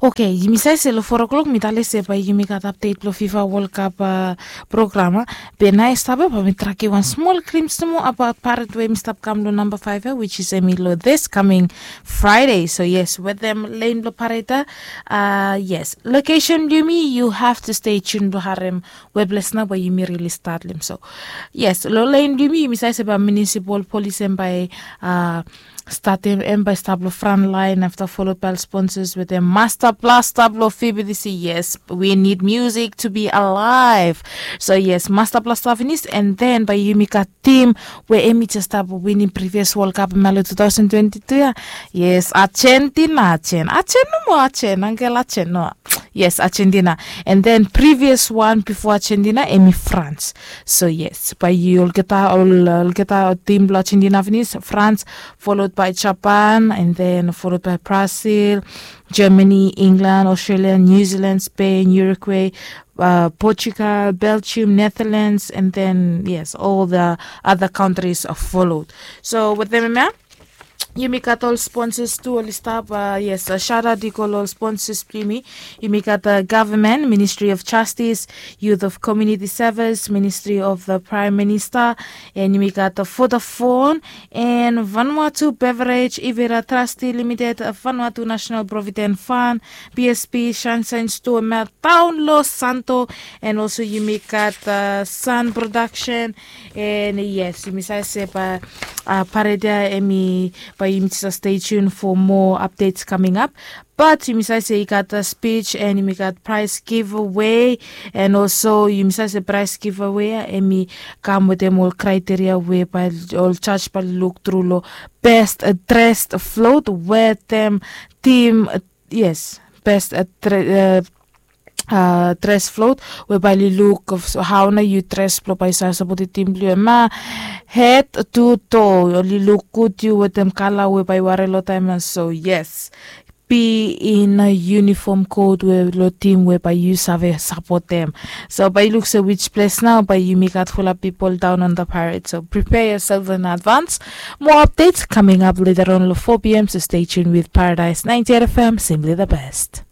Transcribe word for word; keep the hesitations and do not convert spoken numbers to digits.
Oke, yumi save se long four o'clock mi tale se bae yumi gat apdet blong fifa wol kap program a. Be nao i stap ya bae mi trakim wan smol klims nomo abaot paret we mi stap kam long namba faiv ya, wich is em i long this kaming fraide. So yes, wetem lein blong paret ya. Yes, lokesen blong yumi yu have tu stei tun blong harem weples nao bae yumi rili stat long em. So yes, long lein blong yumi yumi save se bae munisipal polis em bae statim em bae stap long fran lain afta folod bae ol sponsas wetem masta blasta blong fibidisi. Yes, we nid musik tu bi alaev. So yes, masta blasta finis an den bae yumi gat tim we em i jes stap winim privias wol kap em ya long tu taosen twenti tu ya. Yes, ajentina ajen ajen nomo ajen angel ajen no. Yes, ajentina. An den privias wan bifo ajentina em i frans. So yes, bae yu olgeta ol olgeta tim blong ajentina finis, frans, folod bae japan, an den folod bae brasil, germani, inglan, australia, niu zilan, spen, uruguay, portugal, belgium, netherlands, an den yes, ol the other kantris folod. So wetem em ya, yumi gat ol sponsas tu oli stap. Yes, sharat i go long ol sponsas blong yumi. Yumi gat gavman, ministri of jastis, youth of communiti sevis, ministri of the praem minista, an yumi gat vodafon, an vanuatu beverej, ivera trasti limited, vanuatu nasenal providen fan, psp, shansain stoa mel daon long santo, an olso yumi gat san prodaksen. An yes, yumi save se bae paret ya em i bae yumi jes stei tun fo moa apdets kaming ap. Bat yumi save se i gat spij an yumi gat praes givawe. An olso yumi save se praes givawe ya em i kam wetem ol kraiteria we bae ol jaj bae luk tru long best dres flot wetem tim. Yes, best dres flot we bae oli luk hao nao yu dres blong bae yu save sapotem tim blong yu em ya. Hed tu to oli luk gud yu wetem kala we bae yu warim long taem ya. So yes, bi in yunifom kot we long tim we bae yu save sapotem. So bae yu luk se wij ples nao bae yumi gat fulap pipol daon on the paret. So pripea yoself in advans. Moa apdets kaming ap leta ron long four pm, so stei tun with paradise ninety eight fm, simply the best.